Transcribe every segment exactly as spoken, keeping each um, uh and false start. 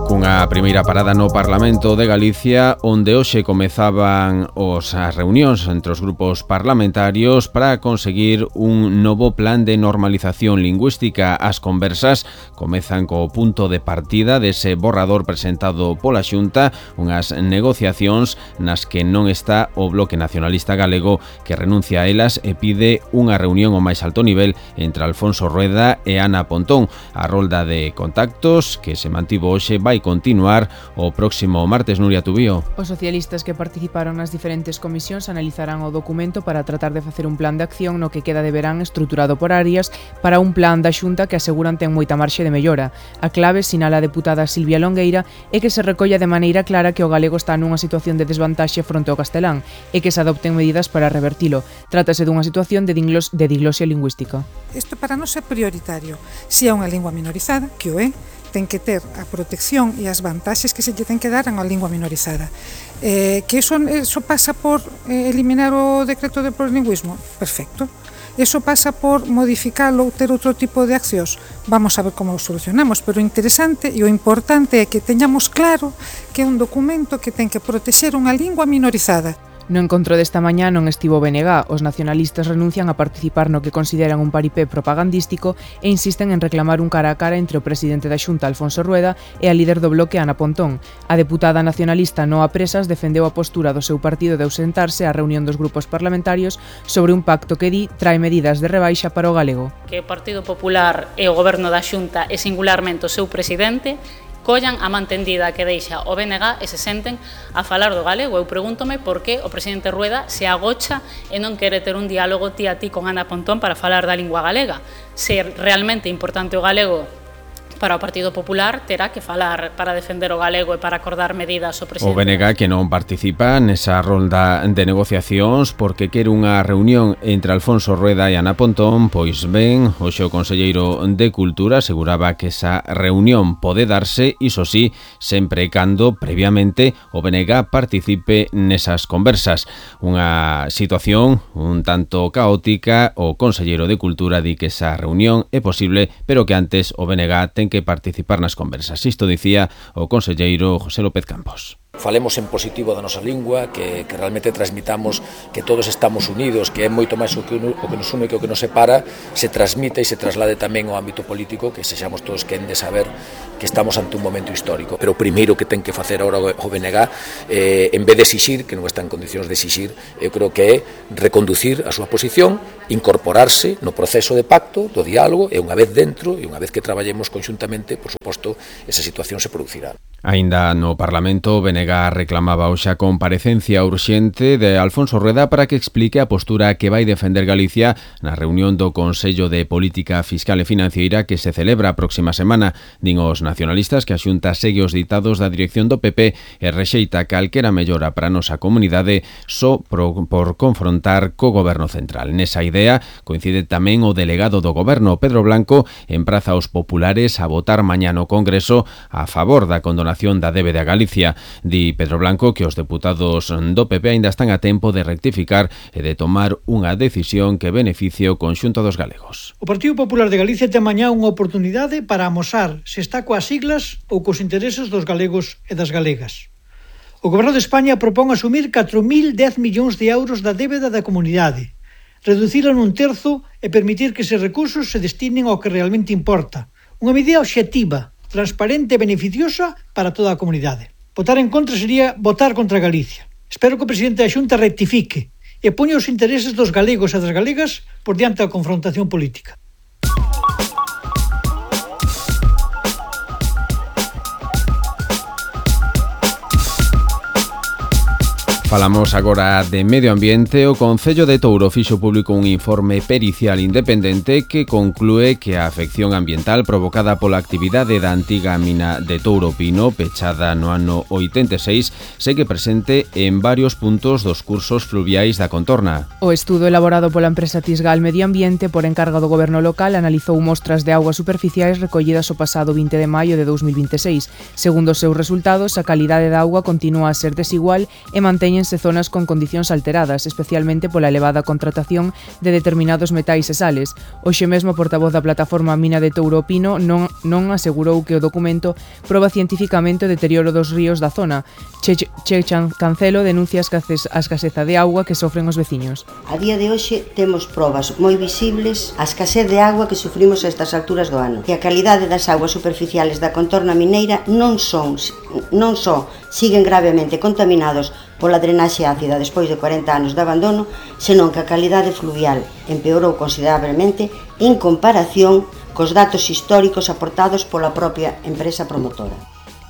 Cunha primeira parada no Parlamento de Galicia, onde hoxe comezaban os as reunións entre os grupos parlamentarios para conseguir un novo plan de normalización lingüística. As conversas comezan co punto de partida dese borrador presentado pola Xunta, unhas negociacións nas que non está o Bloque Nacionalista Galego, que renuncia a elas e pide unha reunión ao máis alto nivel entre Alfonso Rueda e Ana Pontón. A rolda de contactos que se mantivo hoxe vai continuar o próximo martes. Nuria Tubío. Os socialistas que participaron nas diferentes comisións analizarán o documento para tratar de facer un plan de acción no que queda de verán estruturado por áreas para un plan da Xunta que aseguran ten moita marxe de mellora. A clave, sinala a deputada Silvia Longueira, é que se recolla de maneira clara que o galego está nunha situación de desvantaxe fronte ao castelán e que se adopten medidas para revertilo. Trátase dunha situación de, dinglos, de diglosia lingüística. Isto para nós é prioritario. Se é unha lingua minorizada, que o é, ten que ter a protección e as vantaxes que se lle ten que dar a unha lingua minorizada. Eh, que iso, iso pasa por eh, eliminar o decreto de plurilingüismo? Perfecto. Iso pasa por modificalo ou ter outro tipo de accións? Vamos a ver como o solucionamos, pero o interesante e o importante é que teñamos claro que é un documento que ten que protexer unha lingua minorizada. No encontro desta mañá non estivo B N G. Os nacionalistas renuncian a participar no que consideran un paripé propagandístico e insisten en reclamar un cara a cara entre o presidente da Xunta, Alfonso Rueda, e a líder do bloque, Ana Pontón. A deputada nacionalista Noa Presas defendeu a postura do seu partido de ausentarse á reunión dos grupos parlamentarios sobre un pacto que di trae medidas de rebaixa para o galego. Que o Partido Popular e o Goberno da Xunta e singularmente o seu presidente collan a mantendida que deixa o B N G e se senten a falar do galego. Eu pregúntome por que o presidente Rueda se agocha e non quere ter un diálogo ti a ti con Ana Pontón para falar da lingua galega. Se realmente importante o galego para o Partido Popular, terá que falar para defender o galego e para acordar medidas ao presidente. O B N G que non participa nesa rolda de negociacións porque quere unha reunión entre Alfonso Rueda e Ana Pontón, pois ben, hoxe o conselleiro de Cultura aseguraba que esa reunión pode darse, iso sí, sempre e cando previamente o B N G participe nesas conversas. Unha situación un tanto caótica, o conselleiro de Cultura di que esa reunión é posible, pero que antes o B N G ten que participar nas conversas. Isto dicía o conselleiro José López Campos. Falemos en positivo da nosa lingua, que, que realmente transmitamos que todos estamos unidos, que é moito máis o que, o que nos une que o que nos separa, se transmita e se traslade tamén ao ámbito político, que sexamos todos quen de saber que estamos ante un momento histórico. Pero o primeiro que ten que facer agora o B N G, eh, en vez de exixir, que non está en condicións de exixir, eu creo que é reconducir a súa posición, incorporarse no proceso de pacto, do diálogo, e unha vez dentro, e unha vez que traballemos conxuntamente, por suposto, esa situación se producirá. Aínda no Parlamento, B N G reclamaba hoxe a comparecencia urxente de Alfonso Rueda para que explique a postura que vai defender Galicia na reunión do Consello de Política Fiscal e Financiera que se celebra a próxima semana. Din os nacionalistas que a Xunta segue os ditados da dirección do P P e rexeita calquera mellora para a nosa comunidade só por, por confrontar co Goberno Central. Nesa idea coincide tamén o delegado do Goberno, Pedro Blanco, empraza aos populares a votar mañá no Congreso a favor da condonación da débeda a Galicia. Di Pedro Blanco que os deputados do P P aínda están a tempo de rectificar e de tomar unha decisión que beneficie o conxunto dos galegos. O Partido Popular de Galicia ten mañá unha oportunidade para amosar se está coas siglas ou cos intereses dos galegos e das galegas. O Goberno de España propón asumir catro mil dez millóns de euros da débeda da comunidade, reducila nun terzo e permitir que eses recursos se destinen ao que realmente importa. Unha medida obxectiva, transparente e beneficiosa para toda a comunidade. Votar en contra sería votar contra Galicia. Espero que o presidente da Xunta rectifique e poña os intereses dos galegos e das galegas por diante da confrontación política. Falamos agora de medio ambiente. O Concello de Touro fixo público un informe pericial independente que conclúe que a afección ambiental provocada pola actividade da antiga mina de Touro Pino, pechada no ano oitenta e seis, segue presente en varios puntos dos cursos fluviais da contorna. O estudo elaborado pola empresa Tisgal Medio Ambiente por encargo do Goberno local analizou mostras de augas superficiais recollidas o pasado vinte de maio de dous mil vinte e seis. Segundo os seus resultados, a calidade da auga continúa a ser desigual e manteñen distíñense zonas con condicións alteradas, especialmente pola elevada contratación de determinados metais e sales. Hoxe mesmo o portavoz da plataforma Mina de Touro Pino non, non asegurou que o documento proba cientificamente o deterioro dos ríos da zona. Che, che Cancelo denuncia a escaseza de auga que sofren os veciños. A día de hoxe temos probas moi visibles a escasez de auga que sufrimos a estas alturas do ano. Que a calidade das augas superficiales da contorna mineira non son, non só siguen gravemente contaminados pola drenaxe ácida despois de cuarenta anos de abandono, senón que a calidade fluvial empeorou considerablemente en comparación cos datos históricos aportados pola propia empresa promotora.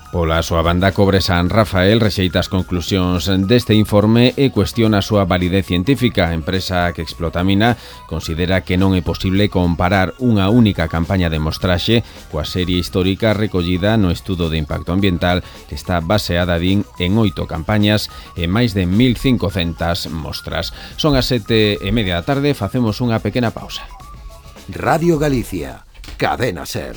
Pola súa banda, Cobre San Rafael rexeita as conclusións deste informe e cuestiona a súa validez científica. A empresa que explota a mina considera que non é posible comparar unha única campaña de mostraxe coa serie histórica recollida no estudo de impacto ambiental que está baseada, din, en oito campañas e máis de mil cincocentas mostras. Son as sete e media da tarde, facemos unha pequena pausa. Radio Galicia, Cadena Ser.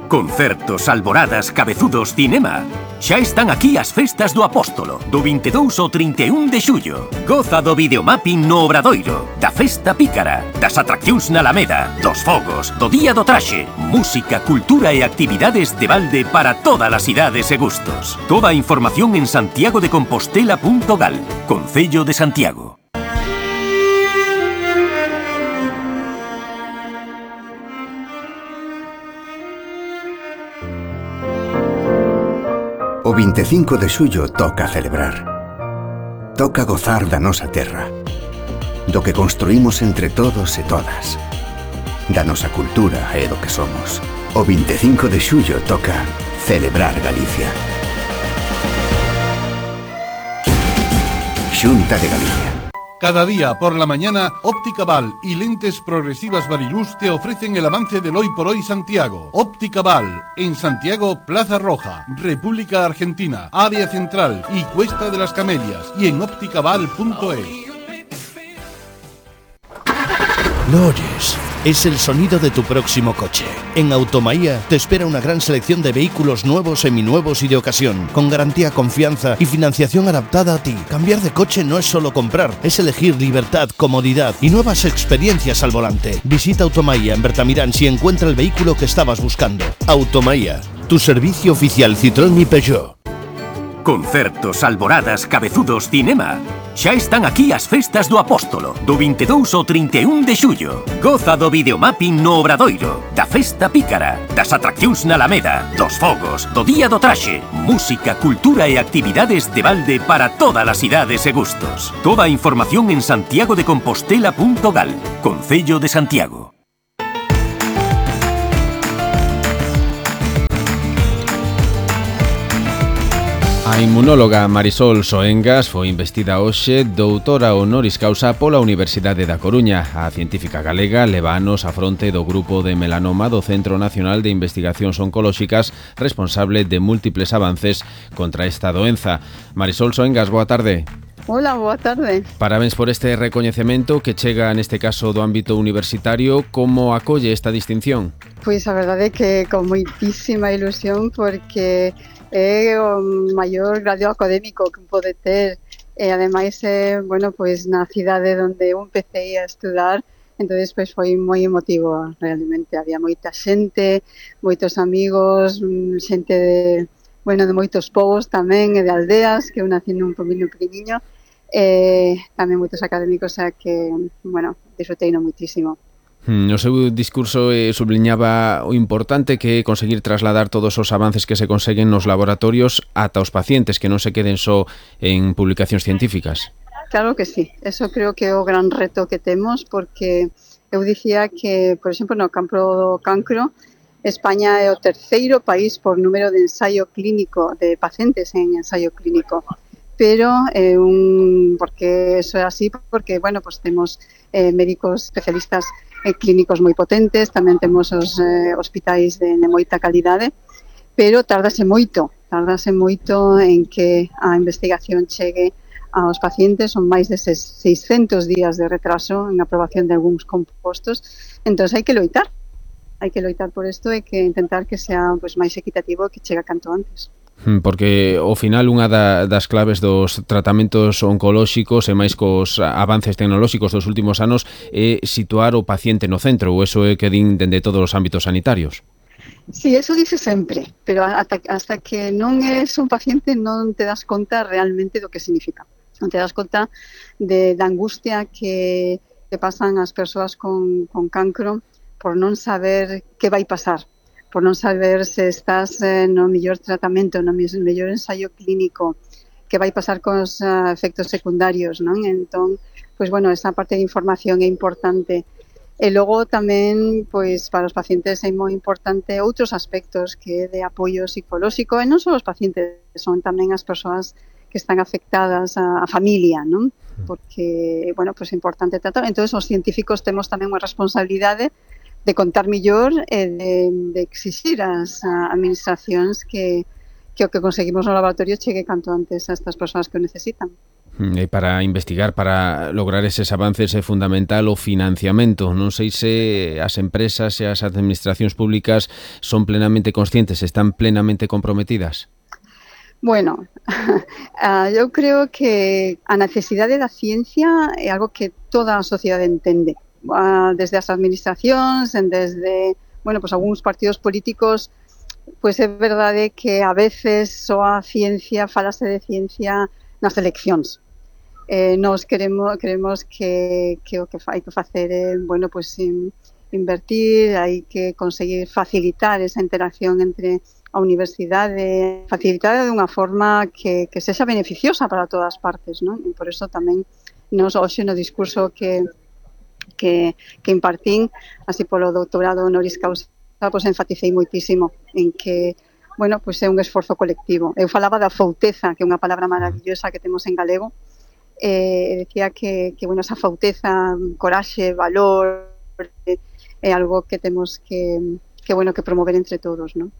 Concertos, alboradas, cabezudos, cinema. Xa están aquí as festas do Apóstolo, do vinte e dous ao trinta e un de xullo. Goza do videomapping no Obradoiro, da festa pícara, das atraccións na Alameda, dos fogos, do Día do Traxe, música, cultura e actividades de balde para todas as idades e gustos. Toda a información en santiago de compostela punto gal, Concello de Santiago. O vinte e cinco de xullo toca celebrar. Toca gozar da nosa terra, do que construímos entre todos e todas, da nosa cultura e do que somos. O vinte e cinco de xullo toca celebrar Galicia. Xunta de Galicia. Cada día por la mañana, Óptica Val y Lentes Progresivas Variluz te ofrecen el avance del Hoy por Hoy Santiago. Óptica Val, en Santiago, Plaza Roja, República Argentina, Área Central y Cuesta de las Camelias, y en ópticaval punto es. ¿Lo oyes? Es el sonido de tu próximo coche. En Automaía te espera una gran selección de vehículos nuevos, seminuevos y de ocasión, con garantía, confianza y financiación adaptada a ti. Cambiar de coche no es solo comprar, es elegir libertad, comodidad y nuevas experiencias al volante. Visita Automaía en Bertamirán si encuentra el vehículo que estabas buscando. Automaía, tu servicio oficial Citroën y Peugeot. Concertos, alboradas, cabezudos, cinema. Xa están aquí as festas do Apóstolo, do vinte e dous ao trinta e un de xullo. Goza do videomapping no Obradoiro, da festa pícara, das atraccións na Alameda, dos fogos, do Día do Traxe, música, cultura e actividades de balde para todas as idades e gustos. Toda a información en santiago de compostela punto gal, Concello de Santiago. A inmunóloga Marisol Soengas foi investida hoxe doutora honoris causa pola Universidade da Coruña. A científica galega leva anos a fronte do grupo de melanoma do Centro Nacional de Investigacións Oncolóxicas, responsable de múltiples avances contra esta doenza. Marisol Soengas, boa tarde. Hola, boa tarde. Parabéns por este recoñecemento que chega neste caso do ámbito universitario. Como acolle esta distinción? Pois a verdade é que con moitísima ilusión, porque é o maior grado académico que pode ter e ademais é, bueno, pois na cidade onde eu empecé a estudar, entonces pois foi moi emotivo realmente. Había moita xente, moitos amigos, xente de, bueno, de moitos povos tamén e de aldeas, que eu nací nun poboinho pequeniño, e tamén moitos académicos, a que, bueno, disfrutei no moitísimo. No seu discurso eh, subliñaba o importante que é conseguir trasladar todos os avances que se conseguen nos laboratorios ata os pacientes, que non se queden só en publicacións científicas. Claro que sí, eso creo que é o gran reto que temos, porque eu dicía que, por exemplo, no campo do cancro, España é o terceiro país por número de ensaio clínico, de pacientes en ensaio clínico. Pero eh, un, porque eso é así, porque, bueno, pues temos eh, médicos especialistas eh, clínicos moi potentes, tamén temos os eh, hospitais de, de moita calidade, pero tardase moito, tardase moito en que a investigación chegue aos pacientes. Son máis de seiscentos días de retraso en aprobación de algúns compostos, entón hai que loitar, hai que loitar por isto e que intentar que sea pues, máis equitativo e que chega canto antes. Porque ao final unha da, das claves dos tratamentos oncolóxicos e máis cos avances tecnolóxicos dos últimos anos é situar o paciente no centro, ou eso é que din dende todos os ámbitos sanitarios. Sí, eso dice sempre, pero hasta, hasta que non es un paciente non te das conta realmente do que significa. Non te das conta de, da angustia que, que pasan as persoas con, con cancro por non saber que vai pasar, por non saber se estás eh, no mellor tratamento, no mellor ensaio clínico, que vai pasar cos uh, efectos secundarios, non? Entón, pois bueno, esa parte de información é importante. E logo tamén, pois, para os pacientes é moi importante outros aspectos que é de apoio psicolóxico, e non só os pacientes, son tamén as persoas que están afectadas, a, a familia, non? Porque, bueno, pois é importante tratar. Entón, os científicos temos tamén unha responsabilidade de contar mellor e de, de exixir ás administracións que, que o que conseguimos no laboratorio chegue canto antes a estas persoas que o necesitan. E para investigar, para lograr eses avances é fundamental o financiamento. Non sei se as empresas e as administracións públicas son plenamente conscientes, están plenamente comprometidas. Bueno, uh, eu creo que a necesidade da ciencia é algo que toda a sociedade entende. Uh, desde as administracións, desde, bueno, pues algúns partidos políticos, pues é verdade que a veces só a ciencia, falase de ciencia nas eleccións. Eh, nos queremos, queremos que, que o que hai que facer é, bueno, pues in, invertir, hai que conseguir facilitar esa interacción entre a universidade, facilitar de unha forma que, que sexa beneficiosa para todas as partes, non? E por eso tamén nos hoxe no discurso que que, que impartín, así polo doutorado honoris causa, pois enfaticei moitísimo en que, bueno, pois é un esforzo colectivo. Eu falaba da fouteza, que é unha palabra maravillosa que temos en galego, e decía que, que bueno, esa fouteza, coraxe, valor, é algo que temos que, que, bueno, que promover entre todos, non?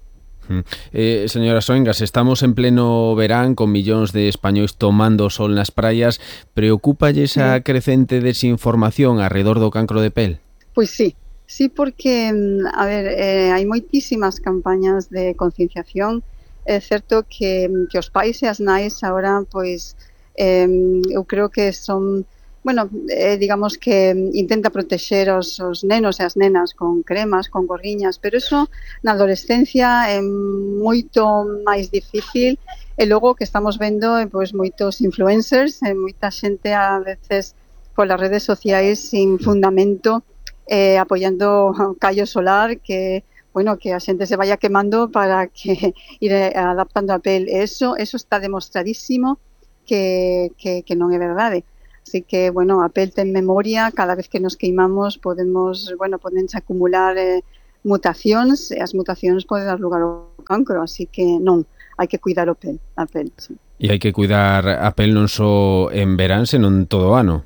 Eh, señora Soengas, estamos en pleno verán con millóns de españois tomando sol nas praias. Preocúpalle esa crecente desinformación alrededor do cancro de pel? Pois sí, sí, porque, a ver, eh, hai moitísimas campañas de concienciación. É certo que, que os pais e as nais agora, pois, eh, eu creo que son... Bueno, eh, digamos que intenta protexer os, os nenos e as nenas con cremas, con gorriñas, pero eso na adolescencia é moito máis difícil, e logo que estamos vendo pois, moitos influencers e moita xente a veces polas redes sociais sin fundamento, eh, apoiando callo solar, que bueno, que a xente se vaya quemando para que ir adaptando a pel. Eso, eso está demostradísimo que, que, que non é verdade. Así que, bueno, a pel ten memoria, cada vez que nos queimamos podemos, bueno, podense acumular eh, mutacións, e as mutacións poden dar lugar ao cancro, así que non, hai que cuidar o pel, a pel, sí. E hai que cuidar a pel non só en verán, senón todo o ano.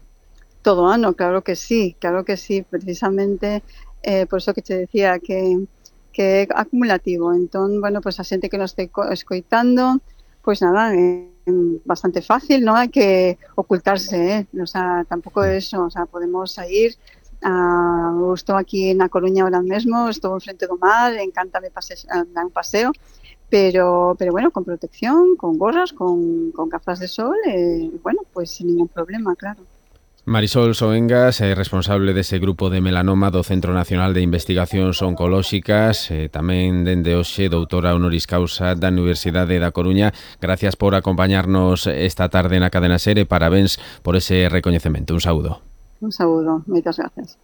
Todo o ano, claro que sí, claro que sí, precisamente, eh, por eso que te decía que, que é acumulativo. Entón, bueno, pues a xente que nos este escoitando, pues nada, eh, bastante fácil, ¿no? Hay que ocultarse, ¿eh? O sea, tampouco é eso, o sea, podemos sair, uh, estou aquí na Coruña ahora mesmo, estou enfrente do mar, encántame pase, dar un paseo, pero, pero bueno, con protección, con gorras, con, con gafas de sol, eh, bueno, pues sin ningún problema, claro. Marisol Soengas é responsable dese grupo de melanoma do Centro Nacional de Investigacións Oncolóxicas, e tamén dende hoxe doutora honoris causa da Universidade da Coruña. Gracias por acompañarnos esta tarde na Cadena SER e parabéns por ese recoñecemento. Un saúdo. Un saúdo, moitas gracias.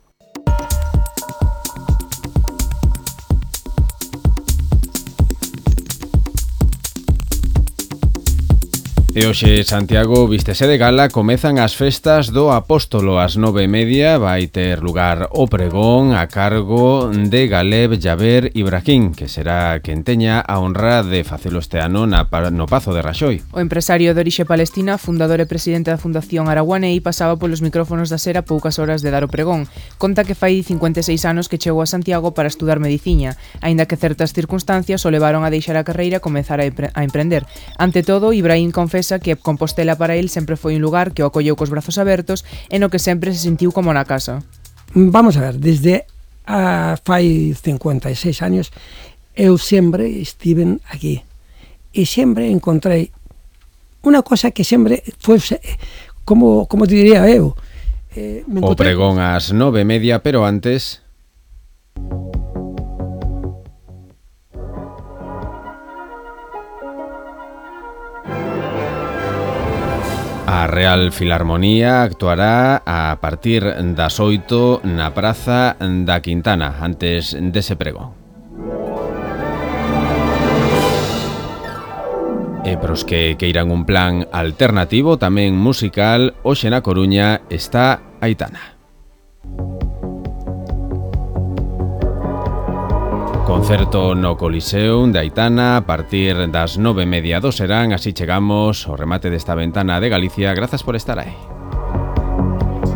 E hoxe Santiago vístese de gala, comezan as festas do Apóstolo. Ás nove e media vai ter lugar o pregón a cargo de Galeb Jaber Ibrahim, que será quen teña a honra de facelo este ano na, no Pazo de Raxoi. O empresario de orixe palestina, fundador e presidente da Fundación Araguanei, pasaba polos micrófonos da SER a poucas horas de dar o pregón. Conta que fai cincuenta e seis anos que chegou a Santiago para estudar mediciña, aínda que certas circunstancias o levaron a deixar a carreira e comezar a, a emprender. Ante todo, Ibrahim confesa que Compostela para el sempre foi un lugar que o acolleu cos brazos abertos e no que sempre se sentiu como na casa. Vamos a ver, desde a, fai cincuenta e seis anos eu sempre estiven aquí e sempre encontrei unha cosa que sempre foi, como, como te diría eu, eh, o pregón ás nove e media, pero antes... A Real Filarmonía actuará a partir das oito na Praza da Quintana, antes dese pregón. E pros que queiran un plan alternativo, tamén musical, hoxe na Coruña está Aitana. Concerto no Coliseum de Aitana a partir das nove e media do serán. Así chegamos ao remate desta ventana de Galicia. Grazas por estar aí.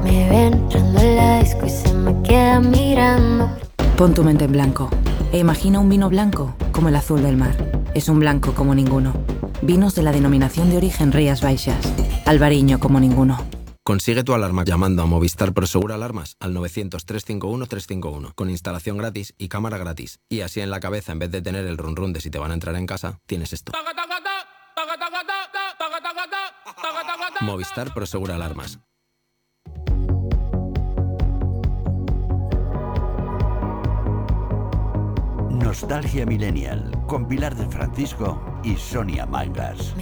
Me ven entrando en la disco y se me queda mirando. Pon tu mente en blanco e imagina un vino blanco como el azul del mar. Es un blanco como ninguno. Vinos de la denominación de origen Rías Baixas. Albariño como ninguno. Consigue tu alarma llamando a Movistar Prosegur Alarmas al novecientos, trescientos cincuenta y uno, trescientos cincuenta y uno con instalación gratis y cámara gratis. Y así en la cabeza, en vez de tener el run run de si te van a entrar en casa, tienes esto. Movistar Prosegur Alarmas. Nostalgia Millennial con Pilar del Francisco y Sonia Mangas.